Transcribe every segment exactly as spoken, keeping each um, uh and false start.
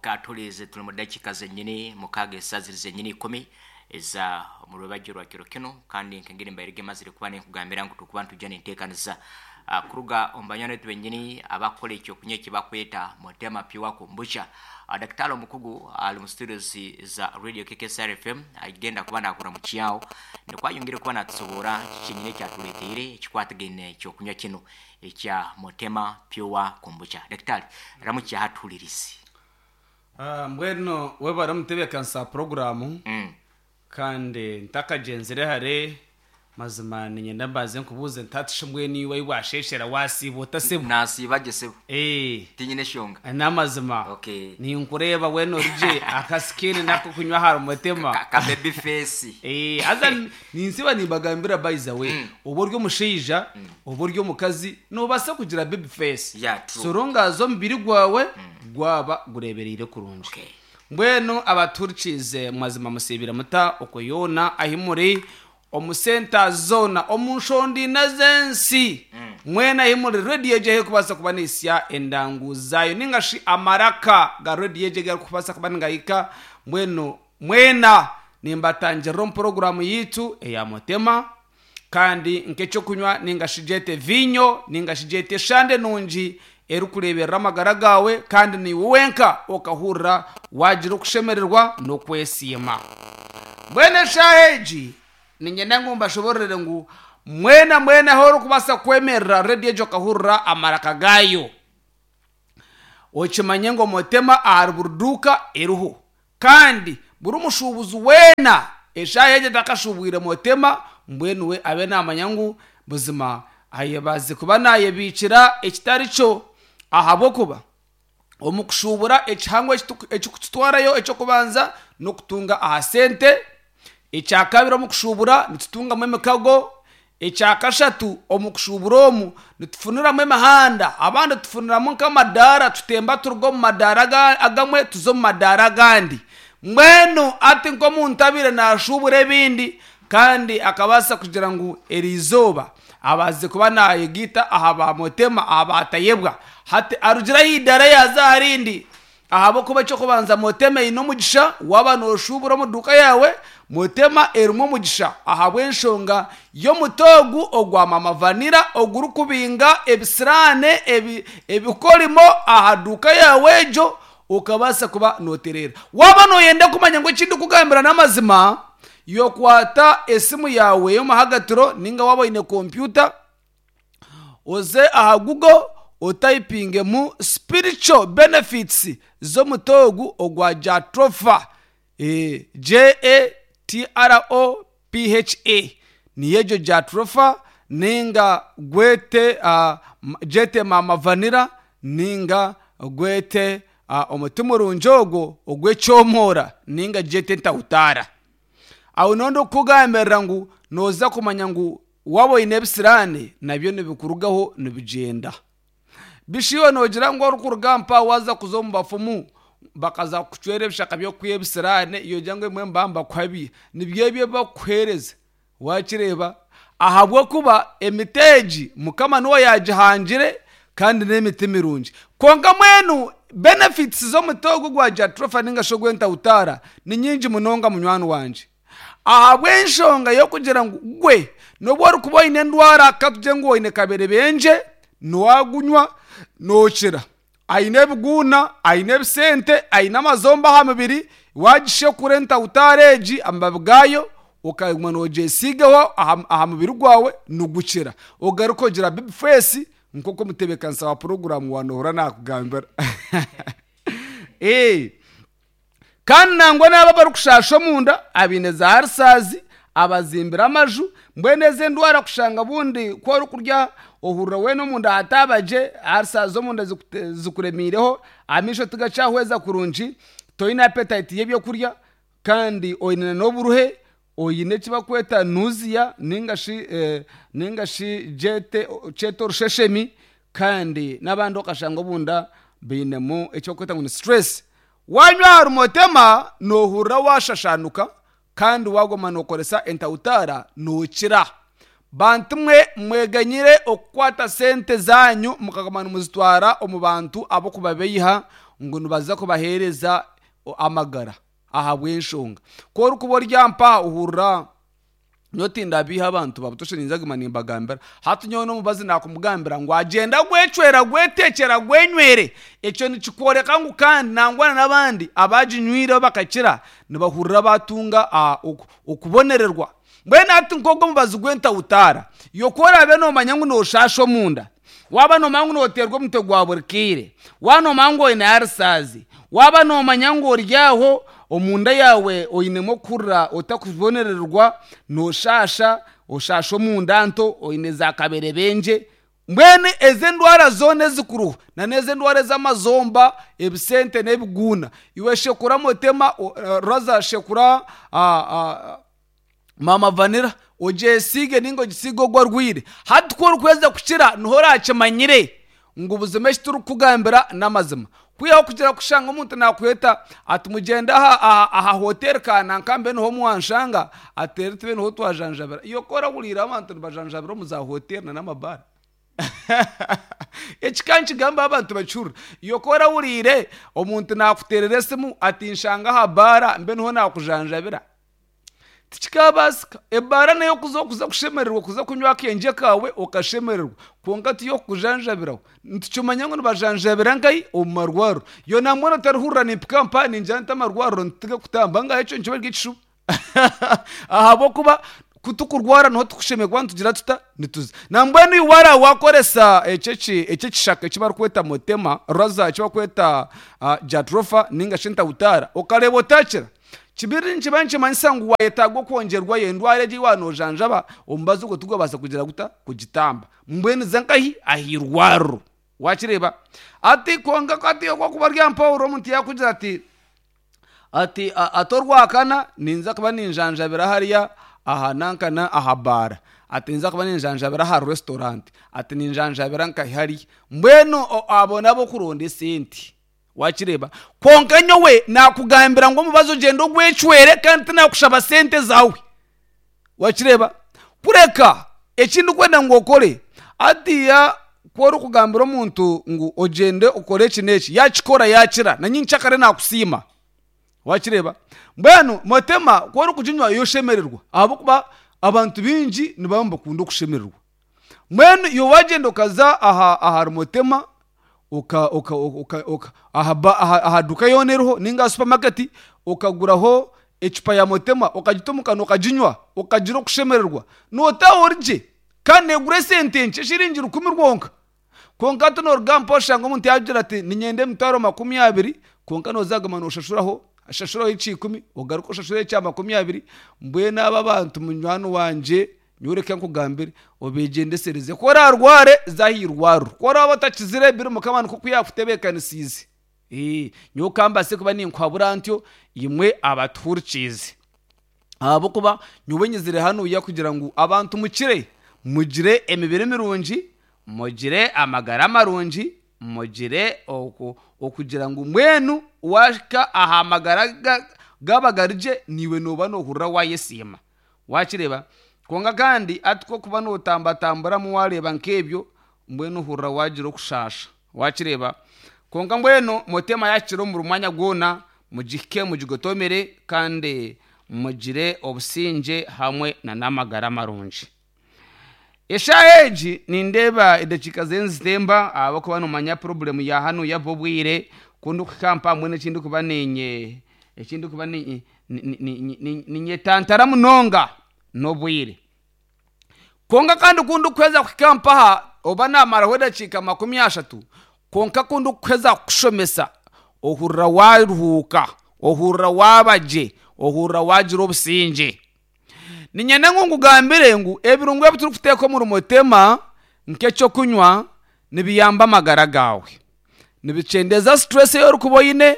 Okatulirize tuli mu dakiika zenyini mukaaga esaziri zenyini ikumi eza mu rwebagyo rwa kiro kinu, kandi nkengeri mbairege mazire kuba ninkugambira ngu tukuba nitujja ninteekaniza uh, kuruga omu banywani baitu benyini abakukora ekyokunywa ekibakweta Motema Pure Kombucha. uh, Daktari omukugu ali mu studios za Radio K K S R F M agenda kuba nakura mu kyawo nikwayongere kuba natusobora kiki ekyatuleteire ekikwatagaine ekyokunywa kino ekya Motema Pure Kombucha. Daktari, ramukya hatulirisi. Ah, mbwenu webare omutebeekanisa programu. Mm. Kandi ntakagenzire hare mazima ninyenda mbanze nkubuuze ntatishe mbwenu iwe ahi washeshera wasiiba otasibwa? Nasiiba gye sebo. Eh. Tinyine eshonga. N'amazima. Okay. Ninkureeba wena origye akasikini nako kunywa ahari Motema. Ka, ka baby face. Eh, haza ninsiba nimbagambira by the way, Mm. oba ori omushaija, oba ori omukazi, noobaasa kugira baby face. Yeah, true. Sorongaza omubiri gwawe gwaba gureebereire kurungi. Okay. Mbwenu abaturikize mazima musibira muta okuyona ahi muri omu senta zona omu nshondina z'ensi, mwena ahi muri rediyo egyo erikubaasa kuba neisya endangu zaayo ninga shi amaraka ga rediyo egyo garikubaasa kuba nigahika. Mbwenu mwena nimbatangirira omu poroguramu yitu eya Motema, kandi nk'ekyokunywa ninga shi gyete vinyo ninga shi gyete eshande nungi erikureeberera amagara gawe, kandi niiwe wenka okahurira wagira okushemererwa n'okwesiima. Mbwenu eshaaha egi niinyenda ngu mbashoborere ngu mwena mwena ahu orikubaasa kwemerera rediyo egyo okahurira amaraka gaayo, okimanye ngu Motema ahari buri duuka eriho, kandi buri mushuubuzi weena eshaaha egyo atakashuubwire Motema, mbwenu we abe naamanya ngu buzima ayebaze kuba naayebiikira ekitari kyo, ahabw'okuba omu kushuubura ekihango ekikututwarayo ekyokubanza n'okutunga aha sente, ekyakabiri omu kushuubura nitutungamu emikago, ekyakashatu omu kushuubura omu nitufuniramu emihanda, abandi tufuniramu nk'amadaara, tutemba turuga omu madaara agamwe tuza omu madaara agandi. Mbwenu ati nk'omuntu abaire naashuubura ebindi kandi akabaasa kugira ngu eriizooba abaze kuba nayegiita aha ba Motema aha batayebwa, hati arugira ahiidara yaza aharindi, ahabw'okuba ekyokubanza Motema eine omugisha. Waaba nooshuubura omu duuka yaawe, Motema erimu omugisha ahabw'enshonga y'omuti ogu ogwa Mama Vanira ogurikubinga ebisiraane ebi, ebikorimo aha duuka yaawe egyo, okabaasa kuba nootereera. Waaba nooyenda kumanya ngu eki ndikugambira n'amazima, yokwata esimu yawe y'omuhagatiro ninga waaba oine kompyuta, oze aha Google otayipingemu spiritual benefits z'omuti ogu ogwa Jatropha, e, J A T R O P H A, niyo egyo Jatropha, ninga gwete uh, jete Mama Vanira, ninga gwete uh, omuti murungi ogwo ogw'ekyomora, ninga jete ntahutara. Aho nondi okukugambirira ngu nooza kumanya ngu waaba oine ebisiraane nabyo nibikurugaho nibigyenda. Bishiwe noogira ngu orikuruga mpa waza kuza omu bafumu bakaza kukucwera ebishaka by'okwiha ebisiraane, yogira ngu ebimwe nibaba nibakuhabya, nibyo ebyo ebi bakukuheereza wakireeba, ahabw'okuba emiti egi Mukama niwe yagihangire kandi n'emiti mirungi. Kwonka mwenu benefits z'omuti ogu gwa Jatropha ninga shi ogw'entahutara ni nyingi munonga munywani wangye, ahabw'enshonga y'okugira ngu gwe nobu orikuba oine endwara, katugire ngu oine kaberebenje, niwagunywa nookira, aine ebiguuna, aine ebisente, aine amazomba aha mubiri, wagishekura entahutara egi amababi gaayo okaguma noogyesiigaho aha, aha mubiri gwawe nigukira, ogaruka ogira baby face nk'oku omutebeekanisa wa poroguramu wanohura nakugambira. Eh. Kandi nangwa n'abo abarikushasha omunda, abaine za ulcers, abazimbire amaju, mbwenu ezi endwara kushanga bundi ku orikurya ohurira weena omunda hatabagye, ulcers omunda zikuremiireho, amaisho tigakyahweza kurungi, toine appetite y'ebyokurya, kandi oine n'oburuhe, oine eki bakweta nausea ninga shi eh, ninga shi jete kyete orusheshemi, kandi n'abandi okashanga obunda bainemu eki bakweta ngu ni stress. Wanywa ahari Motema noohurira washashanuka, kandi waguma nookoresa entahutara nookira. Bantu mwe mweganyire okukwata sente zanyu mukaguma nimuzitwara omu bantu abokubabeiha ngu nibaza kubahereza amagara ahabw'enshonga. Ku orikuba oryampa ohurira nyotinda biha abantu babutoshe ninzaguma nimbagambira. Hati nyowe n'omubazi nakumugambira ngu agenda gwecwera gwetekyera gwenywere. Ekyo nikikworeka ngu kandi nangwana n'abandi abaginywire bakakira nibahurira batunga okubonererwa. Mbwenu hati nk'ogwo omubazi gw'entawutaara, iwe ku oraabe noomanya ngu nooshasha omunda, waaba noomanya ngu nooteerwa omutwe gwa buri kaire, waaba noomanya ngu oine arisaazi, waaba noomanya ngu ori aho omunda yaawe oinemu okuhurira otakubonererwa, nooshasha, oshasha omunda nto, oine za kaberebengye, mbwenu ezi endwara zoona ezikuruho na n'ezi endwara ez'amazomba, ebisente n'ebiguuna, iwe shekura motema, raza shekura mama vanilla ogyesiige ninga ogisiige ogwo arwaire. Hati ku orikweza kukira niho orakimanyire ngu buzima eki turikukugambira n'amazima. Kwihaho kugira kushanga omuntu nakweta ati mugyende aha aha hoteri kananka mbe niho mwanshanga ati rero tube niho twajanjabira. Iwe ku orahuriire abantu nibajanjabira omu za hoteri na n'amabaara. Eki ka nikigamba abantu bakihurira. Iwe ku orahuriire omuntu nakuteerera esimu ati nshanga aha baara mbe niho nakujanjabira. Tikikabaasika. Ebaara neyo kuza okuza kushemererwa kuza kunywa akengye kaawe okashemererwa kwonka tiyo kukujanjabiraho. Nitukimanya ngu nibajanjabira nkahi omu marwariro. Iwe nambwenu otarihurira nimpika mpa ningira nti amarwariro nituge kutamba ngaha ekyo nikiba kiri ekishuba. Ahabw'okuba kutukurwara niho tukushemererwa kuba nitugira tuta nituza. Nambwenu iwe waara wakoresa ekyo ekishaka eki barikweta motema raza eki barikweta jatropha ninga shi entawutaara okareeba otakira, kibiri nikiba nikimanyisa ngu wayetaaga okwongyerwayo endwara egi ei waanojanjaba omubazi ogwo tigwabaasa kugira guta kugitamba. Mbwenu za nkahi ah'eirwariro wakireeba. Hati kwonka hati okwokuba ori aha mpaho omuntu yaakugira ati ati ati orwakana ninza kuba ninjanjabira hariya aha nankana aha baara, ati ninza kuba ninjanjabira aha restaurant, ati ninjanjabira nkahi hariya. Mbwenu abo n'abokuronda esente wakireeba. Kwonka nyowe nakugambira ngu omubazi ogyende ogwecwere kandi tinakushaba sente zaawe wakireeba. Kureka eki ndikwenda ngu okore hatiiya ku orikugambira omuntu ngu ogyende okore eki n'eki yaakikora yaakira na nyenkyakare naakusiima wakireeba. Mbwenu motema ku orikuginywa yo oshemererwa ahabw'okuba abantu baingi nibaba nibakunda okushemererwa. Mbwenu iwe wagyenda okaza aha ahari motema oka oka oka oka aha ba aha duuka yoona eriho ninga aha supermarket okaguraho ecupa ya motema okagita omu kanwa okaginywa okagira okushemererwa nootaaha ori gye kandi neegura esente nkye shiringi rukumi rwonka. Kwonka hati nooruga mpa oshanga omuntu yaakugira ati niinyenda emitwaro makumi abiri kwonka nooza kuguma nooshashuraho oshashureho ekya ikumi ogaruke oshashureho ekya makumi abiri. Mbwenu abo abantu munywani wangye nyowe reka nkugambire obegyendesereze. Ku oraarware za aha irwariro, ku oraaba otakizire biri mukama nikwo yaakutebeekanisiize. Nyowe kambaase kuba ninkuhabura ntyo imwe abatuhurikiize. Ahabw'okuba nyowe nyizire hanuya kugira ngu abantu mukire, mugire emibiri mirungi, mugire amagara marungi, mugire okugira ngu mbwenu waahika aha magara gaaba gari gye naiwe nooba noohurira waayesiima wakireeba. Kwonka kandi hati ku orikuba nootambatamburamu waareeba nk'ebyo mbwenu ohurira waagira okushaasha wakireeba. Kwonka mbwenu motema yaakira omu buri mwanya gwona mugihike mugigotomere kandi mugire obusingye hamwe na n'amagara marungi. Eshaaha egi nindeeba edakiika ziriyo nizitemba ahabw'okuba noomanya problem ya hanuya obwire ku ndikuhika mpa mbwenu eki ndikuba niinye eki ndikuba ninyetantara munonga n'obwire. Kwonka kandi ku ndikuheza kuhika mpaha oba naamaraho edakiika makumi ashatu kwonka ku ndikuheza kukushomesa ohurira waaruhuuka, ohurira waaba gye, ohurira waagira obusingye. Niinyenda ngu nkugambire ngu ebirungo ebi turikuteeka omuri motema nk'ekyokunywa nibiyamba amagara gaawe. Nibikyendeeza stress ei orikuba oine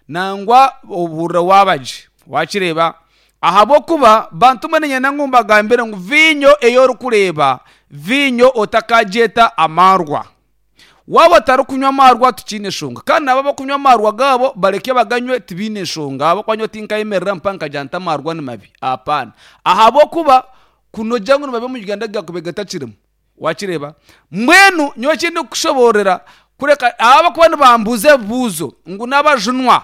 nangwa ohurira waaba gye wakireeba. Ahabw'okuba bantu mwe niinyenda ngu mbagambire ngu viinyo ei orikureeba viinyo otakagyeta amaarwa. Waaba otarikunywa amaarwa tikiine nshonga kandi nabo abarikunywa amaarwa gaabo bareke baganywe tibiine nshonga ahabw'okuba nyowe tinkayemerera mpa nkagira nti amaarwa ni mabi apaana. Ahabw'okuba Kunogira ngu nibabe omu Uganda gakube gatakirimu. Wakireba mbwenu nyowe ekindi kukushoboorera kureka abakuba nibambuuza ebibuuzo ngu n'abajunwa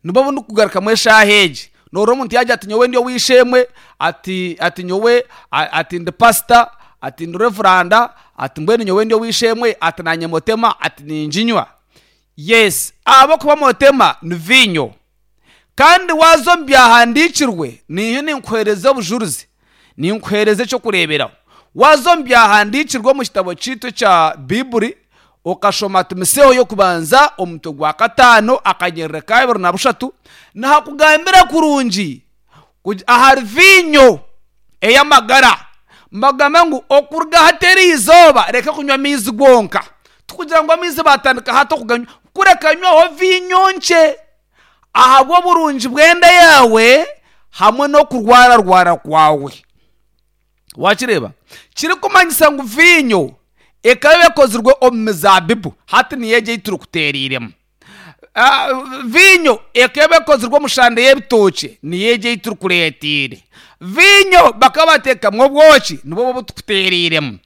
nibo bundi kugarukamu eshaaha egi. Noorora omuntu yagira ati nyowe ndi ow'eishe-emwe, ati ati nyowe a- ati ndi pasita, ati ndi revuranda, ati mbwenu nyowe ndi ow'eishe-emwe, ati naanye motema, ati ninginywa. Yes, ahabw'okuba motema ni viinyo. Kandi waaza omu byahandiikirwe, niiyo ninkuheereza obujurizi, ninkuheereza ekyokureeberaho. Waaza omu byahandiikirwe omu kitabo kyaitu ekya Biiburi, okashoma Timoteyo y'okubanza omutwe gwa kataano akanyerere ka abiri na bushatu, nihakugambira kurungi kugi- ahari viinyo ey'amagara. Mbagamba ngu okuruga hati eri izooba reka kunywa amaizi gonka. Tikugira ngu amaizi batandika hati okuganywa, kureka nywaho viinyo nkye ahabw'oburungi bw'enda yaawe hamwe n'okurwararwara kwawe. Wakireeba? Kirikumanyisa ngu viinyo ekaba ekozirwe omu mizaabibu, hati niyo egi ei turikuteereiremu. Ah, viinyo ekaba ekozirwe omu shande y'ebitookye, niyo egi ei turikureeteire. Viinyo bakaba bateekamu obwoki, nibwo obu tukuteereiremu.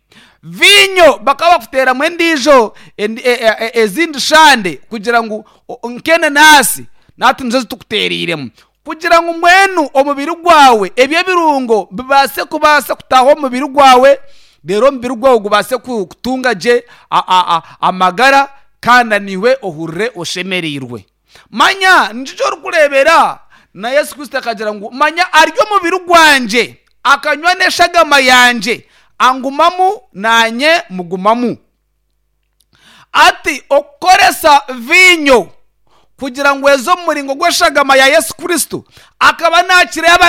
Viinyo bakaba bakuteeramu endiijo endi- e- e- e- ezindi shande kugira ngu o- nk'enanasi nahati nizo zitukuteereiremu kugira ngu mbwenu omubiri gwawe eby'ebirungo bibaase kubaasa kutaaha omu mubiri gwawe, reero omubiri gwawe gubaase ku- kutunga gye a- a- a- amagara kandi naiwe ohurire oshemereirwe. Manya nikyo orikureebera na Yesu Kristo akagira ngu manya ari omubiri gwangye akanywa n'eshagama yangye, angumamu naanye mugumamu. Ati okukoresa viinyo kugira ngu eze omu muringo gw'eshagama ya Yesu Kristo, akaba naakireeba.